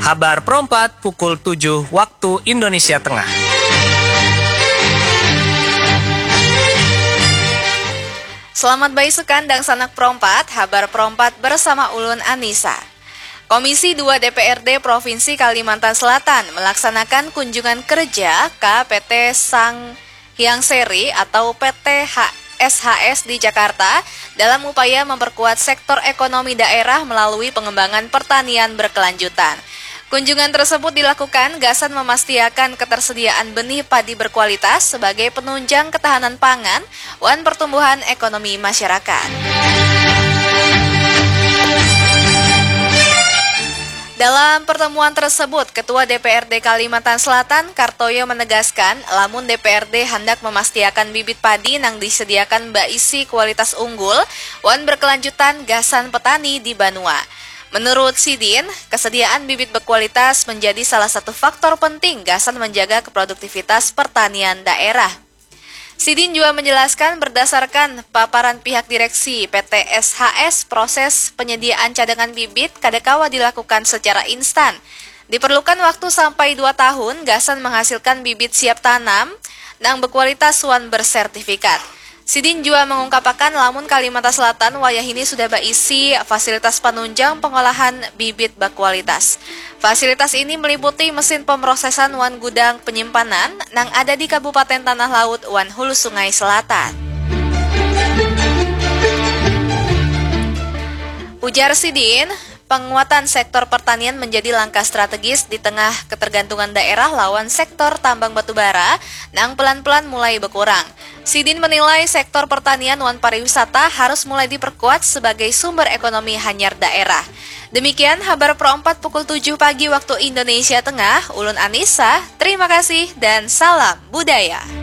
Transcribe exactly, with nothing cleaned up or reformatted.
Habar perompat pukul tujuh waktu Indonesia Tengah. Selamat baisukan dangsanak perompat, habar perompat bersama ulun Anissa. Komisi dua D P R D Provinsi Kalimantan Selatan melaksanakan kunjungan kerja ka P T Sang Hyang Seri atau P T H S H S di Jakarta dalam upaya memperkuat sektor ekonomi daerah melalui pengembangan pertanian berkelanjutan. Kunjungan tersebut dilakukan gasan memastiakan ketersediaan benih padi berkualitas sebagai penunjang ketahanan pangan wan pertumbuhan ekonomi masyarakat. Dalam pertemuan tersebut, Ketua D P R D Kalimantan Selatan, Kartoyo, menegaskan, lamun D P R D handak memastiakan bibit padi nang disediakan baisi kualitas unggul wan berkelanjutan gasan petani di banua. Menurut sidin, kesediaan bibit berkualitas menjadi salah satu faktor penting gasan menjaga keproduktivitas pertanian daerah. Sidin jua menjelaskan, berdasarkan paparan pihak direksi P T S H S, proses penyediaan cadangan bibit kada kawa dilakukan secara instan. Diperlukan waktu sampai dua tahun gasan menghasilkan bibit siap tanam nang berkualitas wan bersertifikat. Sidin jua mengungkapakan, lamun Kalimantan Selatan wayahini sudah baisi fasilitas panunjang pengolahan bibit berkualitas. Fasilitas ini meliputi mesin pemrosesan wan gudang penyimpanan nang ada di Kabupaten Tanah Laut wan Hulu Sungai Selatan. Ujar sidin, penguatan sektor pertanian menjadi langkah strategis di tengah ketergantungan daerah lawan sektor tambang batubara nang pelan-pelan mulai berkurang. Sidin menilai sektor pertanian wan pariwisata harus mulai diperkuat sebagai sumber ekonomi hanyar daerah. Demikian habar pro empat pukul tujuh pagi waktu Indonesia Tengah. Ulun Anissa, terima kasih dan salam budaya.